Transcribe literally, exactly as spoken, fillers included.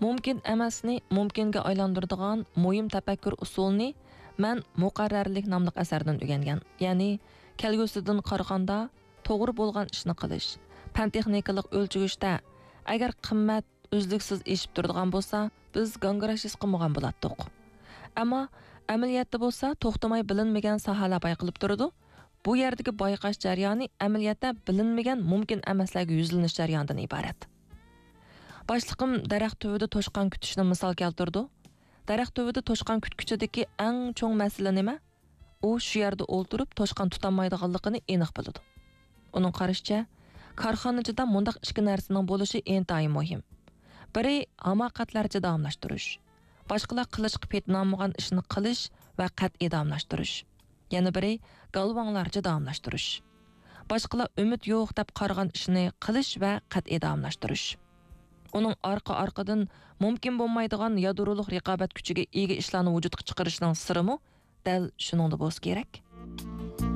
مۇمكىن ئەمەسنى مۇمكىنگە ئايلاندۇرىدىغان مۇھىم تەپەككۇر ئۇسۇلىنى مەن مۇقەررەرلىك ناملىق ئەسەردىن ئۆگەنگەن. يەنى، كەلگۈسىدىن قارىغاندا، توغرا بولغان ئىشنى قىلىش، پەن-تېخنىكىلىق ئۆلچىگۈچتە، ئەگەر قىممەت ئۈزلۈكسىز ئېشىپ تۇرىدىغان بولسا، بىز گاڭگىراش ھېس قىلمىغان بولاتتۇق. ئەمما ئەمەلىيەتتە بولسا، توختىماي بىلىنمىگەن ساھەلەر بايقىلىپ تۇرىدۇ. بۇ يەردىكى بايقاش جەريانى ئەمەلىيەتتە بىلىنمىگەن مۇمكىن ئەمەسلەرگە يۈزلىنىش جەريانىدىن ئىبارەت. باشلىقىم دەرەخ تۈۋىدە توشقان كۈتۈشنى مىسال كەلتۈرىدۇ. دەرەخ تۈۋىدە توشقان كۈتكۈچىدىكى ئەڭ چوڭ مەسىلە نېمە؟ ئۇ شۇ يەردە ئولتۇرۇپ توشقان تۇتالمايدىغانلىقىنى ئېنىق بىلىدۇ. ئۇنىڭ قارىشىچە، كارخانىچىدا مۇنداق ئىككى نەرسىنىڭ بولۇشى ئىنتايىن مۇھىم. بىرى، ھاماقەتلەرچە داۋاملاشتۇرۇش. باشقىلار قىلىشقا پېتىنالمىغان ئىشنى قىلىش ۋە قەتئىي داۋاملاشتۇرۇش. يەنە بىرى، گالۋاڭلارچە داۋاملاشتۇرۇش. باشقىلار ئۈمىد يوق دەپ قارىغان ئىشنى قىلىش ۋە قەتئىي داۋاملاشتۇرۇش. ئۇنىڭ ئارقا-ئارقىدىن مۇمكىن بولمايدىغان يادرولۇق رىقابەت كۈچىگە ئىگە ئىشلارنى ۋۇجۇدقا چىقىرىشنىڭ سىرىمۇ دەل شۇنىڭدا بولسا كېرەك.